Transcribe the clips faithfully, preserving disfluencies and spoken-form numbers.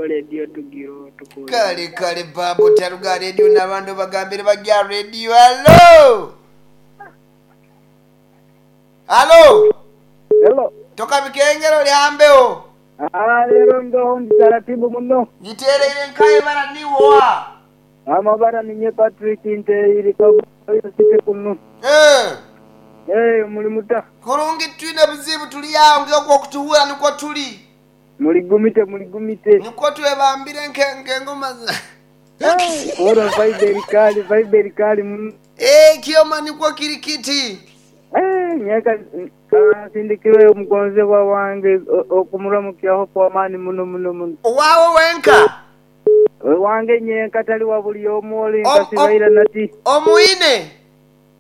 Radio tugiro tukule. Kale kale babo taruga radio n'abantu bagambire bajya radio. Halo, halo. Hello. Toka bikengero lyambeho. Ah, lero ngaho ndi taratibu muno. Nitereire nkaye bara niwoa. Amabara ninye Patrick nteire sike kuno. Eh. Eh, muli muta. Kurungi twine buzibu tuli awo ng'okwo okutuwura nikwo tuli. Muligumite muligumite. Nikwo twebambire nk'engoma za Ora vibe kali vibe kali muno. Eh, kioma nikwo kiri kiti. Eh, nyaka sindikirwe omugonzebwa wange okumuramukyaho kw'amaani muno muno muno. Owaawe wenka. Wange nyenka tali wa buli omu oli Om- nkasibaira nati. Omwine.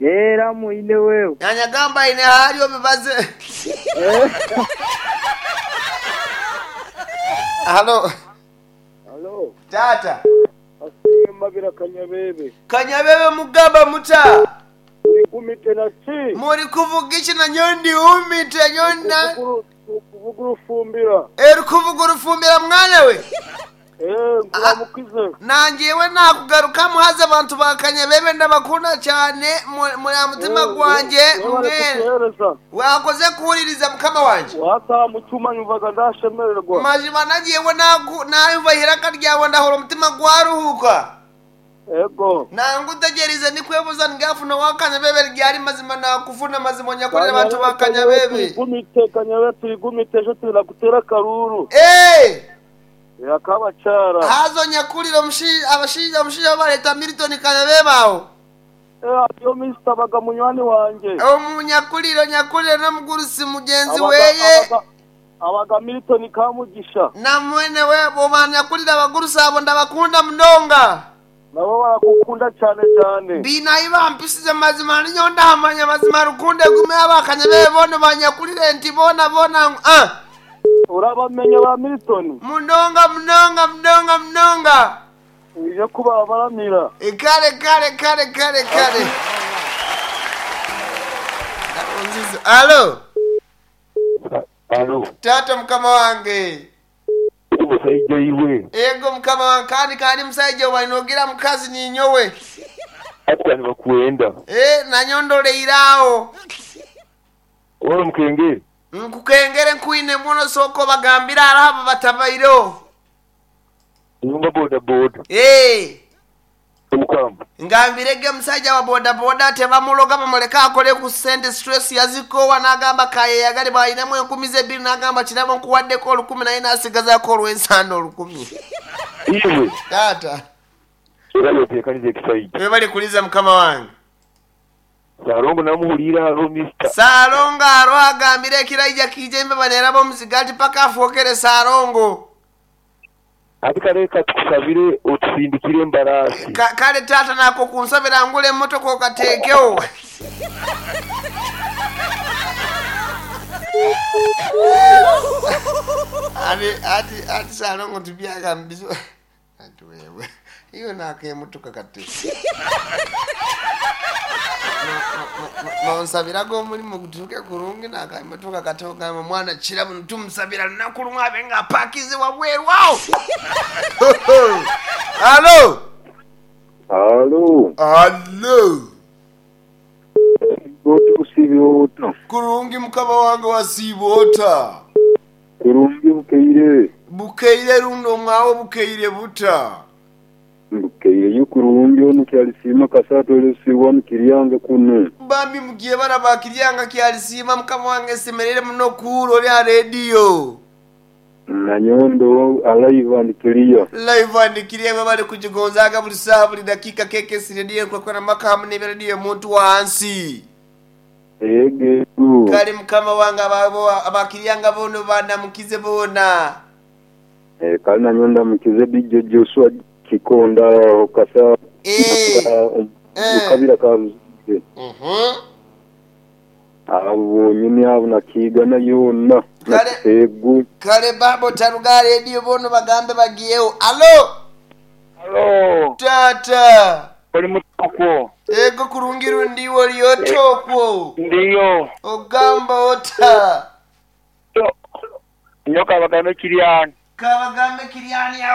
Era mwine wewe. Yanyagamba ine hali obibaze. Eh. Halo. Halo, Tata. asiye mabira Kanyabebe. Kanyabebe mugamba muta. Urigumite na ki? Muri kuvuga iki na nyondi umite nyonda. Kuvuga urufumbira. Eri kuvuga urufumbira mwana we. Eh, nkuramukize. Nanjewe nakugaruka muhaze abantu ba Kanyabebe ndabakunda cyane mu- muri mutima gwanjye mwene. Kuhereza. Wakoze kuwuliriza mukama wanje. Wataha mu cyuma nyumvaga ndashemererwa. Mazima nagiyewe nagu nayumva ihiraka ryawe ndahora umutima gwaruhuka. Ego. Nangutegereze nikwebuza ngafuna wa Kanyabebe ryari mazima nakufuna mazima nyakurira abantu ba Kanyabebe. Turigumite Kanyabebe turigumite ejo turakutera karuru. Eh! Yakabacara. Hazo nyakurira omushi abashinja omushinja bareta Milton Kanyabebe aho. Eh, yo Mister baga munywani wanje. Omunyakuriro nyakuriro n'omugurusi mugenzi Abaga- weye. abaga- Abaga Milton Kamugisha. Na mwene we bo banyakurira abagurusi abo ndabakunda munonga. Nabo barakukunda cyane cyane. Binayi bampisize mazima ninyo ndahamanya mazima rukunde gume abakanyabebe bono banyakurire nti bona bona ah. Urabamenya ba Milton. Munonga munonga munonga munonga. Uje kuba baramira. E, kale kale kale kale kale. Alo, Alo, tata mukama wange. omusajja iwe Ego mukama wange kandi kandi musajja wainogira mukazi ninyowe. ati bakwenda Eh, nanyondoleiraawo. ora mukenge Nkukengere nkuine muno soko bagambira arahaba batabaireho. nyumba boda boda Eh, omukamba ngambirege musajja wa bodaboda tebamuloga bamuleke akole ku ssente stress yazikowa n'agamba kayeyagale bw'alinamu enkumi ze ebbiri n'agamba kirabo nkuwaddeko olukumi naye n'asigazaako olw'ensanda olukumi. iwe Taata. era yoteekaniza ekisajja Webale kuliza mukama wange. Salongo namuhulira alo mister Saalongo aro agambire ekirayija kiija embeba neraba omuziga ati paka afookere Saalongo. ati kale tukusabire otusindikire embaraasi Ka- kale taata nako kunsabira ngula emmotoka okateekewo. Ati ati ati Saalongo tubyagambizo. Ati wewe iyo nako emmotoka kati. Nonsabiraga omulimu gutuuke kurungi nako emmotoka kati ogamba mwana kirabo ntumusabira lunaku lumu abe nga apakize wabweru awo. Alo. Alo, Alo. otusibe ota. Kurungi mukama wange wasiiba ota. Kurungi bukeire. Bukeire runo mwawo bukeire buta. Bukeire yo kurungi ono kyalisiima kasatu elesiwa mukiryange kuno. Bambi mugiye baraba kiryanga kyalisiima mukama wange semerere muno kuuro lya rediyo. Nanyondo alive and clear. Live and clear bali kukigonzaga buli saaha buli dakiika K K S rediyo nkwekwana maka hamu ne rediyo muntu wansi. Ege. Kale mukama wange ababo abakiryanga bono banamukize bona. Eh, kale nanyondo mukize D J Joshua Kikonda kasa. Eh. Eh. Kabira kabuze. Mhm. Abo bonyene abo nakigana yonna. Kale. Nakisegu. Kale babo taruga rediyo bono bagambe bagiyeho. Alo. Halo, Tata. oli mutokwo. Ego kurungiru ndiwo lyotokwo. Ndiyo. Ogamba ota. Nyoka bagambe kiryani. Kabagambe Kiriani.